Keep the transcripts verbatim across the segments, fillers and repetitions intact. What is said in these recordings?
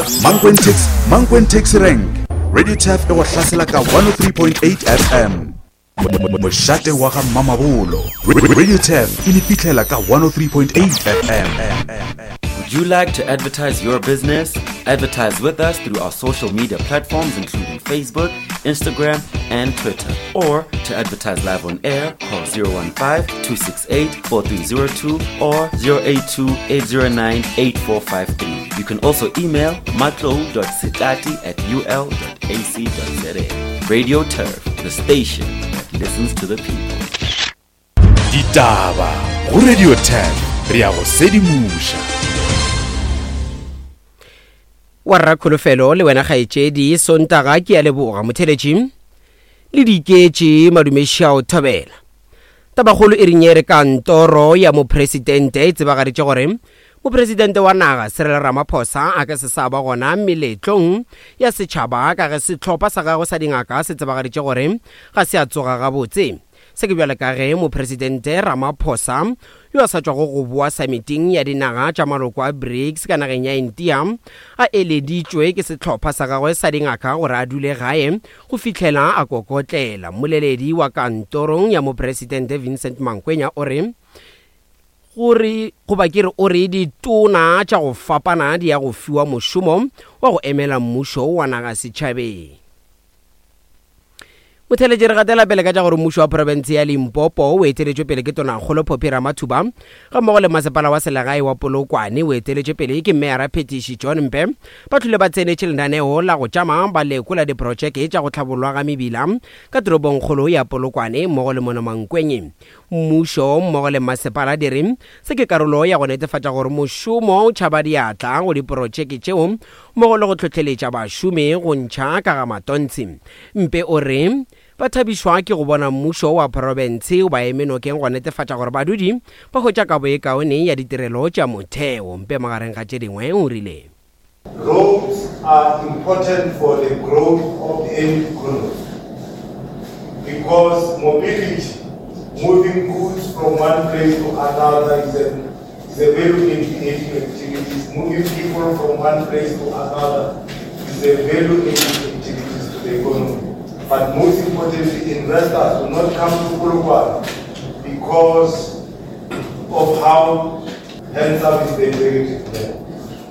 Mankweng Taxi, Mankweng Taxi Rank. Radio Turf e go hlasela ka one oh three point eight F M. Mošate wa ga Mamabolo. Radio Turf e le fihlela ka one oh three point eight F M. Would you like to advertise your business? Advertise with us through our social media platforms including Facebook, Instagram, and Twitter. Or to advertise live on air, call zero one five, two six eight, four three zero two or zero eight two, eight zero nine, eight four five three. You can also email matlou dot setlati at u l dot a c dot z a. Radio Turf, the station that listens to the people. Ditaba go Radio Turf, re ya go sedimoša. Wa rra Kholofelo le wena kgaetšedi Sontaga ke a leboga motheletši le diketše madumeši a o thobela. Tabakgolo e re kantoro ya mopresidente e tsebagaditše gore mopresidente wa naga Cyril Ramaphosa a ka se sa ba gona meletlong ya setšhaba ka ge sehlopha sa gagwe sa dingaka se tsebagaditše gore ga se a tsoga gabotse. Se ke bjale ka ge mopresidente Ramaphosa yo a sa tšwago go boa summiting ya dinaga tša maloko a BRICS ka nageng ya India a eleditšwe ke sehlopha sa gagwe sa dingaka gore a dule gae go fihlela a kokotlela. Mmoleledi wa kantorong ya mopresidente Vincent Mankwenya o re gore goba ke re o re ditona tša go fapana di ya go fiwa mošomo wa go emela mmušo wa naga setšhabeng. Motheletši re gatela pele ka tša gore mmušo wa profense ya Limpopo o eteletšwe pele ke Tonakgolo Phophi Ramathuba ga mmogo le masepala wa selegae wa Polokwane o eteletšwe pele ke Meyara Phetiši John Mpe ba tlile ba tsenetše lenaneo la go tšama ba lekola diprotšeke tša go tlhabollwa ga mebila ka toropongkgolo ya Polokwane mmogo le mona Mankweng. Mmušo mmogo le masepala di re se ke karolo ya go netefatša gore mošomo o tšhaba diatla go diprotšeke tšeo mmogo le go hlohleletša bašomi go ntšha ka ga matontshi. Mpe o re ba thabišwa ke go bona mmušo wa profense o ba eme nokeng go netefatša gore badudi ba hwetša kabo e kaone ya ditirelo tša motheo. Mpe magareng ga tše dingwe o rile Roads are important for the growth of any economy because mobility, moving goods from one place to another is a, is a value adding activities. Moving people from one place to another is a value adding activities to the economy. But most importantly, investors will not come to Polokwane because of how handsome is the executive there.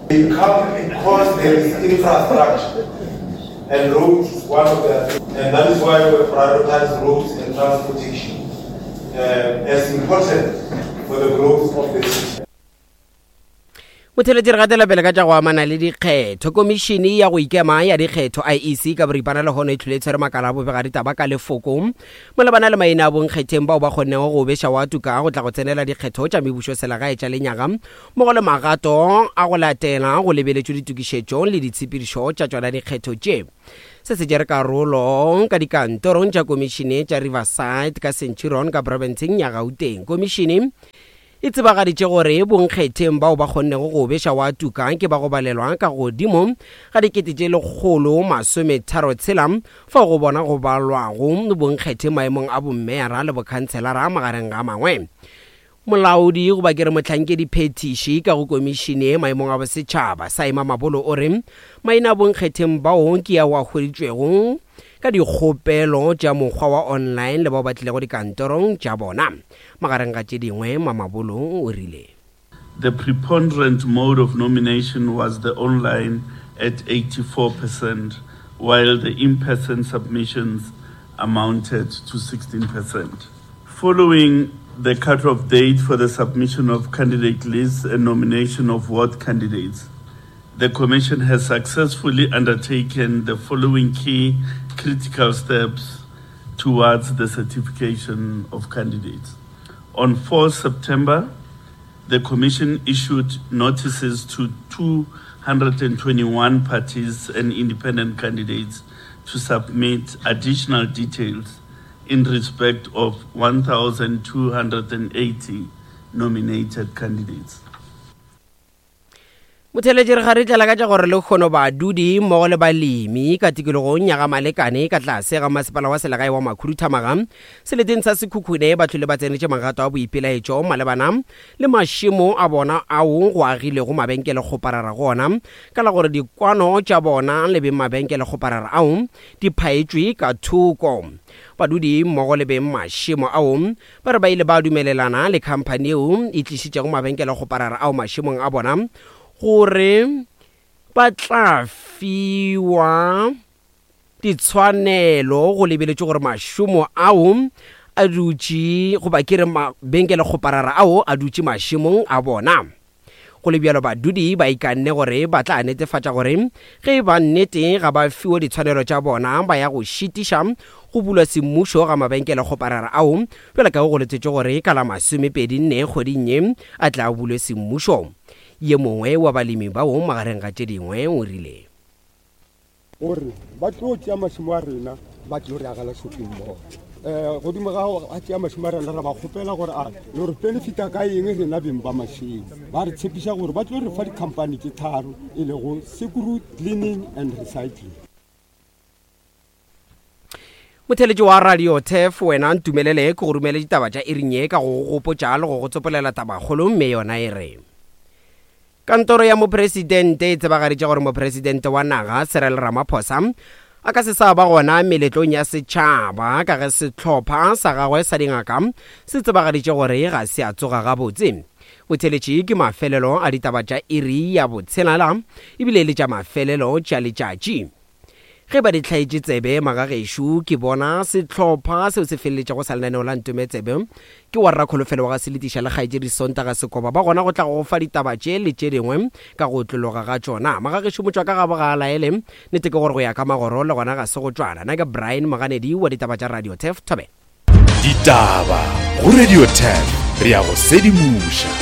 They come because there is infrastructure, and roads is one of the, and that is why we prioritize roads and transportation, uh, as important for the growth of the city. Motheletši re gatela pele ka tša go amana le dikgetho. Komišene ya go ikema ya dikgetho I E C ka boripana le hono e tlhole e tshwere makala a bobega ditaba ka lefoko malebana le maina a bonkgetheng bao ba kgonnego go beša wa tuka go tla go tsenela dikgetho tša mebušo selegae tša lenyaga mmogo le magato a go latela go lebeletšwe ditokišetšo le ditshepedišo tša tšona dikgetho tše. Se se tšere karolo ka dikantorong tša komišene tša Riverside ka Centurion ka profenseng ya Gauteng. Komišene e tsebagaditše gore bonkgetheng bao ba kgonnego go beša wa tuka ke ba go balelwa ka godimo ga dikete tše lekgolo masometharo tshela fao go bona go balwago bonkgetheng maemong a bommeyara le bokhanselara magareng ga mangwe. Molaodi goba ke re mohlankedi phetiši ka go komišene maemong a bosetšhaba Saima Mabolo o re maina a bonkgetheng bao ke ao a hweditšwego ka dikgopelo tša mokgwa wa online le bao ba tlilego dikantorong tša bona. Magareng ga tše dingwe, Mamabolo o rile The preponderant mode of nomination was the online at eighty-four percent, while the in-person submissions amounted to sixteen percent. Following the cutoff date for the submission of candidate lists and nomination of ward candidates, the Commission has successfully undertaken the following key critical steps towards the certification of candidates. On fourth September, the Commission issued notices to two hundred and twenty-one parties and independent candidates to submit additional details in respect of one thousand two hundred and eighty nominated candidates. Motheletši re ga re tlela ka tša gore lekgono badudi mmogo le balemi ka tikologong ya ga Malekane ka tlase ga masepala wa selegae wa Makhuduthamaga seleteng sa Sekhukhune ba tlhole ba tsenetše magato a boipelaetšo malebana le mašemo a bona ao go agilego mabenkele kgoparara go ona ka la gore dikwano tša bona le beng mabenkele kgoparara ao di phaetšwe ka thoko. Badudi mmogo le beng mašemo ao ba re ba ile ba dumelelana le khamphani yeo e tlišitšego mabenkele kgoparara ao mašemong a bona gore ba tla fiwa ditshwanelo go lebeletše gore mašomo ao a dutše goba ke re mabenkele kgoparara ao a dutše mašemong a bona. Go le bjalo badudi ba ikanne gore ba tla netefatša gore ge e ba nnete ga ba fiwe ditshwanelo tša bona ba ya go šitiša go bulwa semmušo ga mabenkele kgoparara ao bjalo ka go letetše gore ka la masomepedi nne kgweding ye a tla bulwe semmušo. Ye mongwe wa balemi bao magareng ga tše dingwe o rile gore ba tlo tšea mašemo a rena ba tlo re agela shopping mall. Um godimo ga a tšea mašemo a rena re ba kgopela gore a le re benefita ka eng rena beng ba mašemo. Ba re tshepiša gore ba tlo re fa dikhamphani tše tharo e lego Sekuru Cleaning and Recycling. Motheletši wa Radio Turf wena ntumelele ke go romele ditaba tša iring ye ka go gopotša le go go tsopolela tabakgolo mme yona e re Kantoro ya mopresidente e tsebagaditše gore mopresidente wa naga Cyril Ramaphosa a ka se sa ba gona meletlong ya setšhaba ka ge sehlopha sa gagwe sa dingaka se tsebagaditše gore ga se a tsoga gabotse. Botheletši ke mafelelo a ditaba tša iri ya botshelela ebile le tša mafelelo tša letšatši. Ge ba di hlaetše tsebe magagešo ke bona sehlopha seo se feleletšego sa lenaneo la Ntome Tsebe ke wa Rakholofelo wa ga Seletiša le kgaetšedi Sontaga Sekoba ba gona go tla go fa ditaba tše le tše dingwe ka go otlologa ga tšona. Magagešo motšwa ka gabo ga a laele nnete ke gore go ya ka magoro le gona ga se go tšwana. Nna ke Brian Moganedi wa ditaba tša Radio Turf Thobela. Ditaba go Radio Turf re ya go sedimoša.